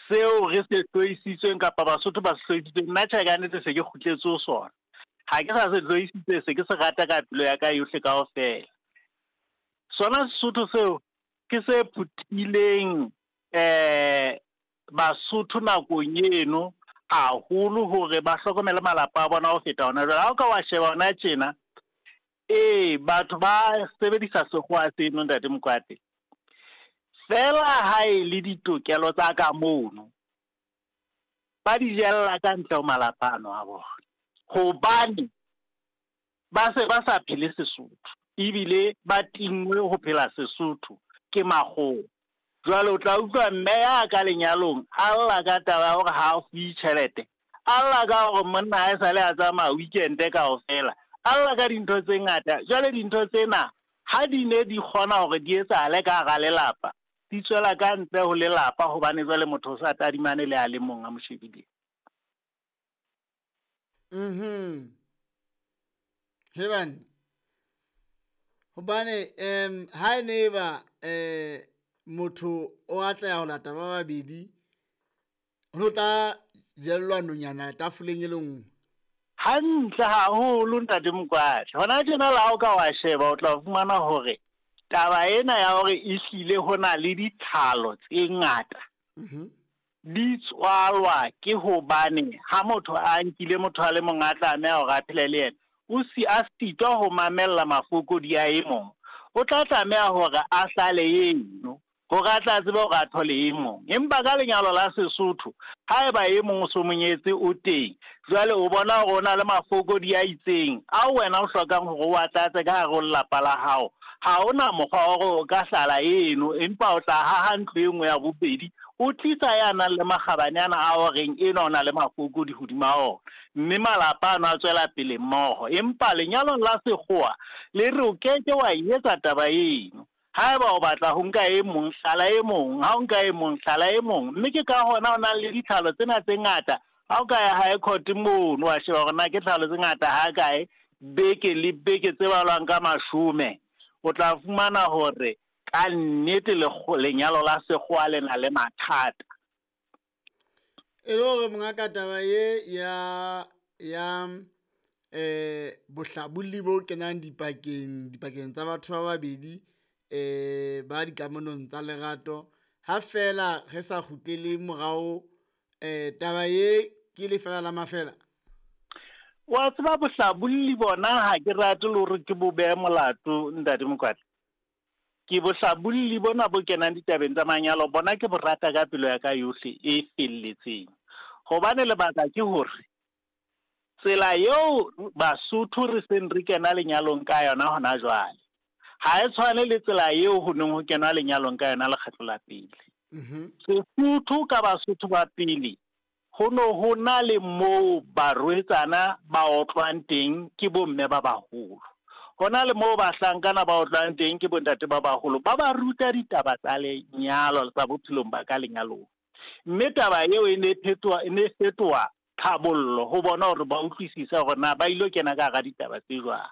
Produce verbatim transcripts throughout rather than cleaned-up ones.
Seo re se hloisitsweng kapa Basotho ba se hloisitsweng, nna tjhe ka nnete se ke kgutletse ho sona. Ha ke sa se hloisitse, se ke se rata ka pelo ya ka yohle kaofela. Sona Sesotho seo ke se phuthileng eh Basotho nakong eno haholo hore ba hlokomele malapa a bona ho feta hona jwale. Ha o ka wa sheba hona tjena, ee, batho ba sebedisa sekgowa seno, ntate Mokwate. Feela ha e le ditokelo tsa ka mono, ba di jella ka ntle ho malapa ano a bona. Hobane ba se ba sa phele Sesotho, ebile ba tinngwe ho phela Sesotho ke makgowa. Jwale o tla utlwa mme ya ka lenyalong a lla ka taba ya hore ha a fuwe tjhelete, a lla ka hore monna ha esale a tsamaya weekend kaofela, a lla ka dintho tse ngata. Jwale dintho tsena ha di ne di kgona hore di etsahale ka hara lelapa, di tswela ka ntle ho lelapa, hobane jwale motho o sa tadimane le a le mong a mo shebileng. Mhm. Hebane. Hobane em ha e ne ba eh motho o atleha ho lata ba babedi, ho tla jellwa nonyana tafoleng e le nngwe. Hantle haholo, ntate Mokwatla. Hona tjena le ha o ka wa sheba, o tla fumana hore taba ena ya hore ehlile ho na le ditlhalo tse ngata Mhm. di tswalwa ke hobane ha motho a nkile motho a le mong a tlameha hore a phele le yena, o si a sitwa ho mamella mafokodi a e mong, o tla tlameha hore a hlale eno hore a tla tsebe hore a thole e mong. Empa ka lenyalo la Sesotho, haeba e mong o so monyetse o teng, jwale o bona hore o na le mafokodi a itseng ao wena o hlokang hore o a tlatse ka hare ho lelapa la hao, ha hona mokgwa wa hore o ka hlala eno, empa o tla haha ntlo e nngwe ya bobedi, o tlisa ya nang le makgabane ana a horeng enwa o na le mafokodi hodima ona, mme malapa ano a tswela pele mmoho. Empa lenyalong la sekgowa le re o keke wa e etsa taba eno. Haeba o batla ho nka e mong, hlala e mong, ha o nka e mong, hlala e mong. Mme ke ka hona o nang le ditlhalo tsena tse ngata. Ha o ka ya high court mono, wa sheba hore na ke tlhalo tse ngata ha kae, beke le beke tse balwang ka mashome, o tla fumana hore ka nnete lenyalo la sekgowa le na le mathata. E le hore mongaka taba ye ya ya eh bohlabolli bo kenang dipakeng dipakeng tsa batho ba babedi eh ba dikamanong tsa lerato, ha fela re sa kgutlele morao, eh taba ye ke lefela la mafela. Wa tseba bohlabolli bona ha ke rate le hore ke bo behe molato, ntate Mokwatla. Ke bohlabolli bona bo kenang ditabeng tsa manyalo, bona ke bo rata ka pelo ya ka yohle e felletseng. Hobane lebaka ke hore tsela eo Basotho re seng re kena lenyalong ka yona hona jwale, ha e tshwane le tsela eo ho neng ho kenwa lenyalong ka yona lekgetlo la pele. Mhm. Sesotho ka Basotho ba pele, ho no ho na le moo barwetsana ba otlwang teng ke bomme ba baholo. Ho na le moo bahlankana ba otlwang teng ke bontate ba baholo, ba ba ruta ditaba tsa lenyalo tsa bophelong ba ka lenyalong. Mme taba eo e ne phetoha, e ne fetoha tlhabollo ho bona hore ba utlwisise hore na ba ilo kena ka hara ditaba tse jwang.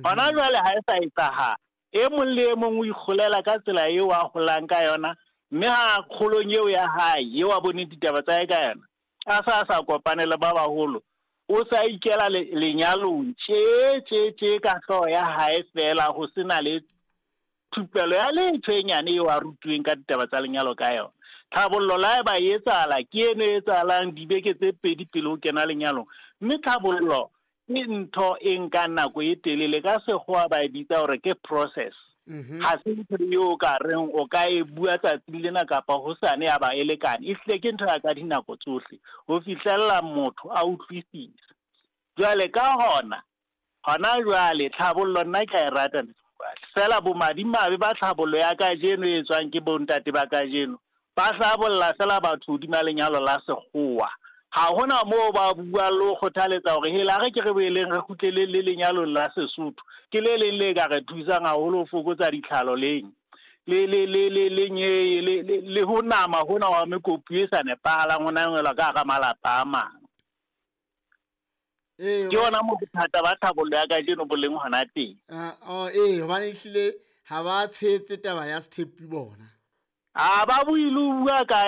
Hona jwale ha e sa etsahala, e mong le e mong o ikgolela ka tsela eo a holang ka yona, mme ha kgolong eo ya hae eo a boneng ditaba tsa hae ka yona, a sa sa kopane le ba baholo, o sa ikela lenyalong tje tje tje ka hlooho ya hae feela, ho sena le thupelo ya letho e nyane eo a rutuweng ka ditaba tsa lenyalo ka yona. Tlhabollo la haeba e etsahala, ke eno e etsahalang dibeke tse pedi pele ho kena lenyalong. Mme tlhabollo ke ntho e nkang nako e telele, ka sekgowa ba e bitsa hore ke process. Mhm. Ha se ntho eo o ka reng o ka e bua tsatsing lena kapa hosane ya ba e lekane. Ehlile ke ntho ya ka dinako tsohle ho fihlella motho a utlwisisa. Jwale ka hona, hona jwale tlhabollo nna ke a e rata, feela bomadimabe ba tlhabollo ya kajeno e etswang ke bontate ba kajeno, ba hlabolla feela batho hodima lenyalo la sekgowa. Ha hona moo ba buang le ho kgothaletsa hore hela re ke re boeleng re kgutlele le lenyalong la Sesotho, ke le leng le ka re thusang haholo ho fokotsa ditlhalo leng le le le le le nye le le le ho nama hona wa mekopu e sa nepahalang ho nangwelwa ka hara malapa a mang. Ee, Ke hona moo bothata ba tlhabollo ya kajeno bo leng hona teng. Ah, oh, ee, hobane ehlile ha ba tshehetse taba ya sethepu bona. Ha ba bue le ho bua ka